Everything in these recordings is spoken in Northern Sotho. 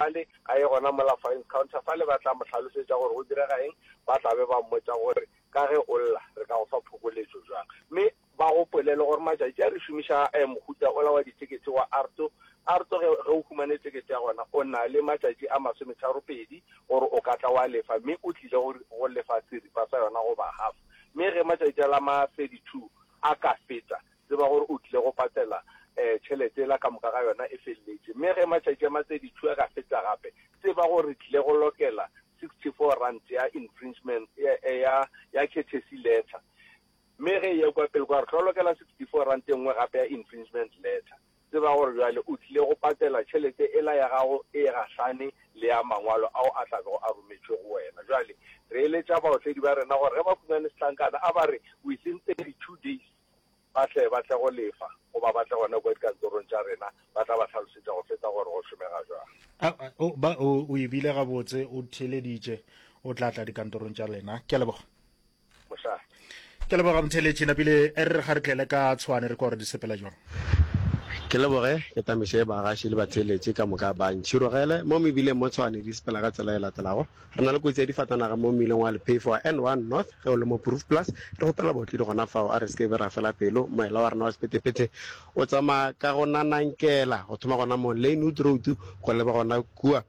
fale, a ye gona mola fines counter fale, ba tla mo hlalosetša gore go direga eng, ba tla be ba mmotša gore ka ge o lla re ka go fa phokoletšo bjang. Mme ba gopole le gore matšatši a re šomiša mohuta ola wa ditekete wa ARTO. ARTO ge, ge o humane tekete ya gona o na le matšatši a masometharopedi gore o ka tla wa lefa, mme o tlile go, go lefa seripa sa yona goba half. Mme ge matšatši a la ma 32 a ka feta, tseba gore o tlile go patela tšhelete yela ka moka ga yona e feleletše. Mme ge matšatši a ma 32 a ka feta gape, tseba gore re tlile go lokela R64 ya infringement, ya, ya, ya courtesy letter. Mme ge e ya kua pele kua, re tlo lokela R64 e nngwe gape ya infringement letter. Tseba gore bjale o tlile go patela tšhelete ela ya gago e gahlane le ya mangwalo ao a tla bego a rometšwe go wena. Bjale re eletša baotledi ba rena gore ge ba humane setlankana, a ba re within 32 days ba tle ba tle go lefa goba ba tle gona kua dikantorong tša rena, ba tla ba hlalosetša go feta gore go šomega bjang. A, o, ba, o, o e bile gabotse, o theeleditše, o tla tla dikantorong tša lena. Ke a leboga. Mošate. Ke leboga motheeletši, napile e re ga re tlele ka Tshwane re kwa gore di sepela jwang. Ke leboge, ke tamiše bagaši le batheeletši ka moka ba ntšhirogele mo mebileng mo Tshwane di sepela ka tsela e latelago. Re na le kotsi ya difatanaga mo mmileng wa Lephefo wa N1 North ge o le mo Proefplaas. Re kgopela baotledi gona fao a re se ke be ra fela pelo. Moela wa rena wa sephethephethe o tsamaya ka go nanankela go thoma gona mo Lynnwood Road go leba gona kua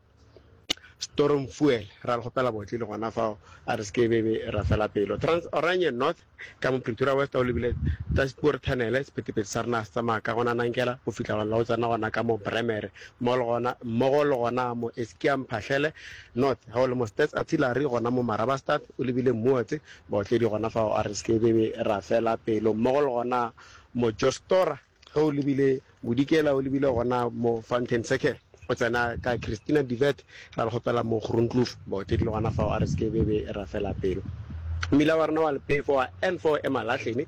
Stormfuel. Ra le kgopela baotledi gona fao a re se ke be be ra fela pelo. Trans Oranje North Ka mo Pretoria West o lebile Daspoort Tunnel, sephethephethe sa rena se tsamaya ka gona Nankela go fihla gona la go tsena gona ka mo Bremere mo le gona mmogo le gona mo Eskia Mphahlele North. Ge o le mo Stats Artillery gona mo Marabastad o lebile Mootse, baotledi gona fao a re se ke be be ra fela pelo mmogo le gona mo Jostora. Ge o lebile bodikela o lebile gona mo Fountain Circle, o tsena ka Christina de Wet, ra le kgopela mo Groenkloof, baotledi le gona fao a re se ke be be ra fela pelo. Mmila wa rena wa lephefo wa N4 Emalahleni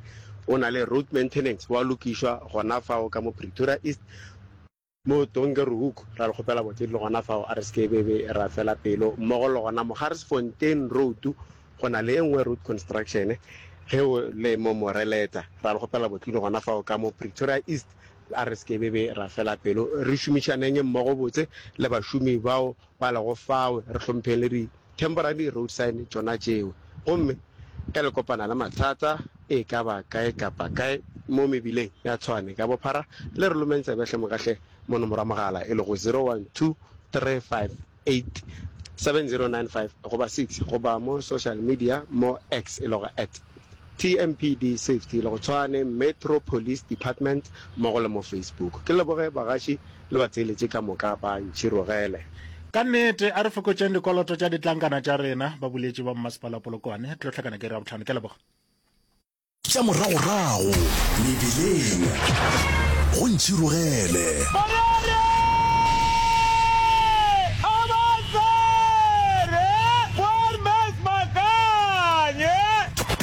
o na le road maintenance, wa lokišwa gona fao ka mo Pretoria East. Mo Donkerhoek, ra le kgopela botledi le gona fao, a re se ke be be ra fela pelo. Mmogo le gona mo Garsfontein Road, go na le e nngwe road construction ge o le mo Moreleta. Ra le kgopela botledi le gona fao ka mo Pretoria East, a re se ke be be ra fela pelo. Re šomišaneng mmogo botse le bašomi bao ba lego fao, re hlompheng le di temporary road sign tšona tšeo. Gomme ge le kopana le mathata e ka ba kae kapa kae mo mebileng ya Tshwane ka bophara, le re lomeng tsebe hle mokahle mo nomoro ya mogala e lego 0123587095 goba 6 goba mo social media mo X e lego at TMPD Safety e lego Tshwane Metro Police Department mmogo le mo Facebook. Ke leboge bagaši Le ba tseeletše ka moka ba ntšhirogele. Ka nnete, a re fokotšeng dikoloto tša ditlankana tša rena, ba boletše ba mmasepala wa Polokwane. Tlo hlakana ke iri ya bohlano. Ke a leboga. Tša moragorago mebileng go ntšhirogele.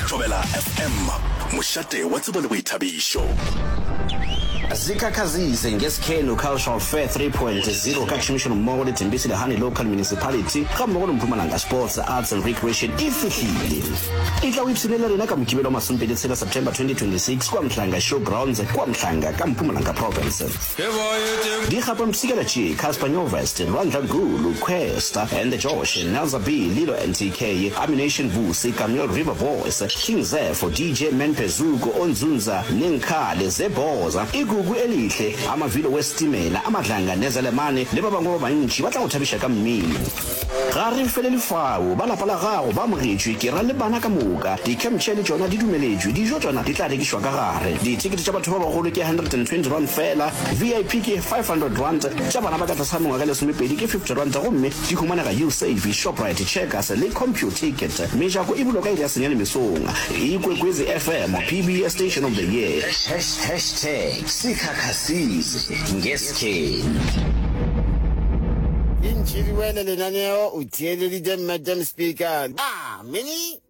Thobela FM, mošate wa tsebo le boithabišo. Zikhakhazise ngeSkhenu Cultural Fair 3.0 ka tšhomišanommogo le Tembisa Lehane Local Municipality gammogo le Mpumalanga Sports, Arts and Recreation e fihlile. Etla o ipshine le rena ka Mokibelo wa masomepedi tshela September 2026 kua Mhlanga Show Grounds kua Mhlanga ka Mpumalanga Province. Dikgapampshikela tše, Cassper Nyovest, Lwandla Gulu, Kwesta and the Josh, Nelza B, Lilo NTK, Ammunition Vusi, Kameel River Boys, King Zepho, DJ Menpe Zuko, Onzunza, Nenkhale, Zebhoza, Igugu Elihle, Amavilo Wesitimela, Amadlanga Nezelemane le ba bangwe ba bantši ba tla go thabiša ka mmino. Ga re felele fao, ba lapa la gago ba amogetšwe, ke ra le bana ka moka. Di-camp chair le tšona di dumeletšwe, dijo tšona di tla rekišwa ka gare. Dithekete tša batho ba bagolo ke R120 feela, VIP ke R500, tša bana ba ka tlase ga mengwaga e lesomepedi ke R50 gomme di humanega Usave, Shoprite, Checkers le Computicket. Mejako e bulwa ka iri ya senyane mesong. Ikwekwezi FM, PBS Station of the Year. Hashtag sikhakhasile ngeskhenu. Di ntšhiriwele lenaneo o theeleditše Madam Speaker. Ah, Minnie!